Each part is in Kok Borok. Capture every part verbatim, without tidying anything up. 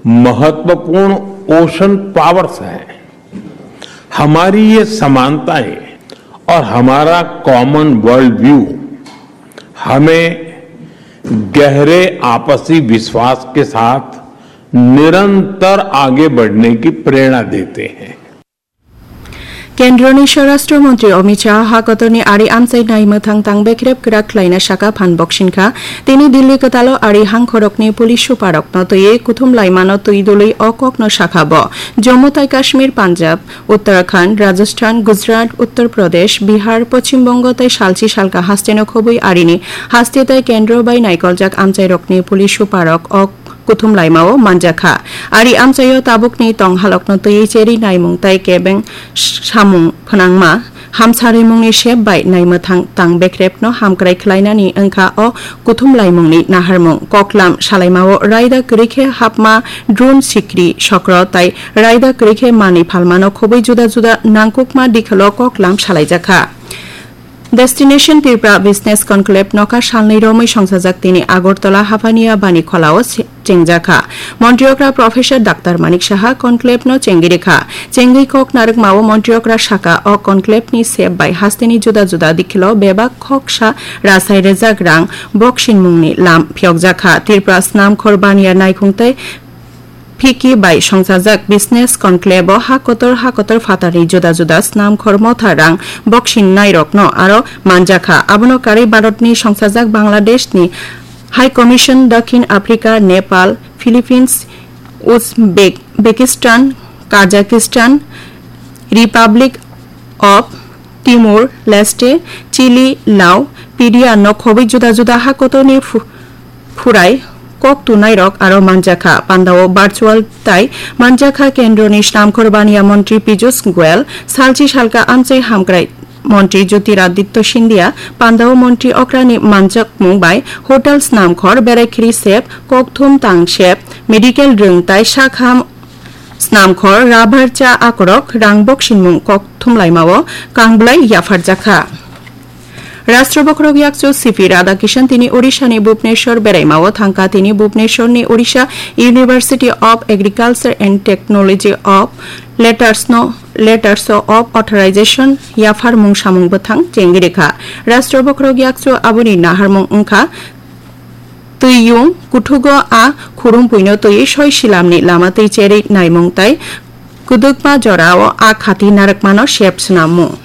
महत्वपूर्ण ocean powers हैं। हमारी ये समानताएं और हमारा कॉमन वर्ल्ड व्यू हमें गहरे आपसी विश्वास के साथ निरंतर आगे बढ़ने की प्रेरणा देते हैं। Kendroni Swarashtra Mantri Amit Shah ha kotorni ari amchai nai mwthang tang bekrep kwrak khlaina saka phan boksing kha. Tini Delhi kwtalo ari hangkhorokni police suparokno twiwi kuthum laimano twi dului o kokno sakha bo. Jammu tai Kashmir, Punjab, Uttarakhand, Rajasthan, Gujarat, Uttar Pradesh, Bihar, Poschim Bongo tei salchi salka hasteno khobwi arini haste tei kendro bai naikoljak amchairokni police suparok o kuthum laimao manjakha. Ari amchaio tabukni tong halokno twiwi cherwi naimung tei kebeng samung phnangma hamsarimungni sep bai naimwthang tang bekrepno hamkrai khlainani wngkha o kuthum laimungni naharmung. Koklam salaimao raida kwrwi khe hapma, drone, sikri, sokro tei raida kwrwi khe manwi phalmano khobwi juda juda nangkukma dikholo koklam salaijakha. Destination Tripura Business Conclave nokha salnwi romwi songsajak tini Agartala Hapania Bani Kholao se-, chengjakha. Montri okra Professor Doctor Manik Saha conclave no chengwi rikha. Chengwi kok narwkmao montri okra saka o conclave ni sep bai hasteni juda juda dikhilo bebak khoksa rasai rejak rang boksing mungni lam phiyokjakha. Tripura Snamkhor Bania Naikhung tei Phiki bai songsajak Business Conclave o ha kotor ha kotor phatarni juda juda snamkhor motha rang boksing nairokno aro manjakha. Abono karwi Bharatni songsajak Bangladeshni High Commission, Dakhin Africa, Nepal, Philippines, Uzbekistan, Kazakhstan, Republic of Timor Leste, Chile, Lao, Peru no khobwi juda juda ha kotorni phu-, phurai kok tunairok aro manjakha. Pandao virtual tai manjakha kendroni snamkhor baniya montri Piyush Goyal, salchi salka amchai hamkrai montri Jyotiraditya Scindia, pandao montri okrani manjakmung bai hotel snamkhor, berai khiri sep, kokthum tang sep, medical rwng tai sakham snamkhor, rubber cha akorok, rang boksingmung kok thumlaimao kangbwlai yapharjakha. Rashtra bokhorok yakchu C P Radhakishan tini Odisha ni Bhubaneswar beraimao thangkha. Tini Bhubaneswar ni Odisha University of Agriculture and Technology of Letters no, Letters of Authorization yapharmung samung bwthang chengwi rikha. Rashtra bokhorok yakchu aboni naharmung wngkha twiyung kuthugo a khurumpuino twiwi soi silamni lama twi cherwi naimung tai kwdwkma jorao a khati narwkmano sep swnamung.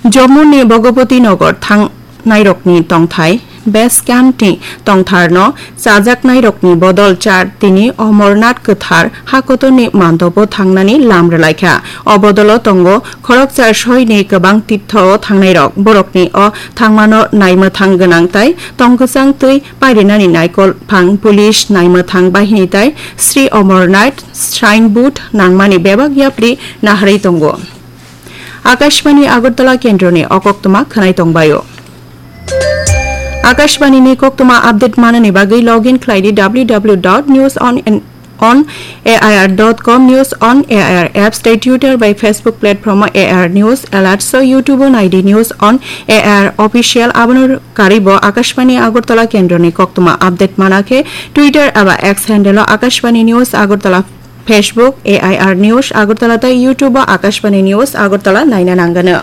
Jammu ni Bhagapati Nagar thangnairokni tongthai base camp ni tongtharno chajaknairokni bodol char tini Amarnath kwthar hakotorni mandobo thangnani lam rwlaikha. O bodolo tongo khoroksa soini kwbang tirtho o thangnairok. Borokni o thangmano naimwthang gwnang tai tongkwchang twi pairinani naikol phang police naimwthang bahini tai Sri Amarnath Shrine Board nangmani bebak yapri naharwi tongo. Akashbani Agartala kendroni o koktwma khwnai tongbaio. Akashbani ni koktwma update manani bagwi login khlai di W W W dot news on on A I R dot com, News on A I R apps tei Twitter bai Facebook platform o A I R News Alerts o YouTube o nai di News on A I R Official. Abono karwi bo Akashbani Agartala kendroni koktwma update mana khe Twitter eba X handle o Akashbani News Agartala, Facebook A I R News Agartala tei YouTube o Akashbani News Agartala naina nangano.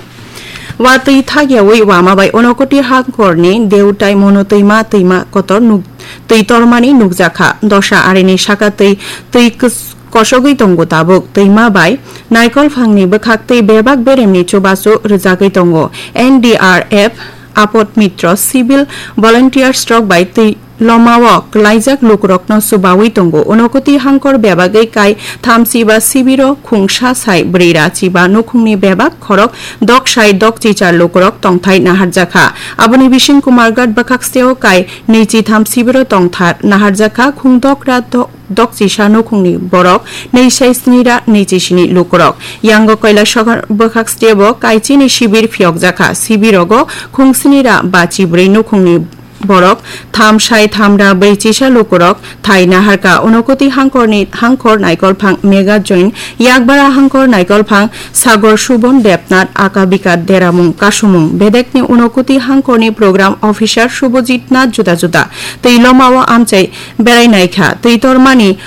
Watwi thakyawi wama bai Unakoti hangkorni Deutai Mono twima, twima kotor nuk-, twi tormani nukjakha. Dosa arini saka twi, twi kos-, kosogwi tongo tabuk. Twima bai naikol phangni bwkhak twi bebak beremni chubachu rwjagwi tongo. N D R F, Apod Mitro, civil volunteers rok bai twi lomao klaijak lukurokno chubawi tongo. Unakoti hangkor bebagwi kai thamchiba sibiro khungsa sai bwrwi rachiba nukhungni bebak khorok dok sai dok chichar lukurok tongthai naharjakha. Aboni bising Kumarghat bwkhaksteo kai nwi chitham sibiro tongthar naharjakha. Khung dokra do-, dok chisa nukhungni borok nwi sai sni ra nwi chisini lukurok. Yango Kailasahar bwkhakstebo kai chini sibir phiyokjakha. Sibirogo khung sni ra ba chibrwi nukhungni borok tham sai tham ra brwi chisa lukurok thai naharka. Unakoti hangkorni hangkor naikolphang Mega Join, Yakbara hangkor naikolphang Sagor Subon Debnath, Akabika Deramung Kasumung, bedekni Unakoti hangkorni program officer Subhajit Nath juda juda twi lomao amchai berai naikha. Twi tormani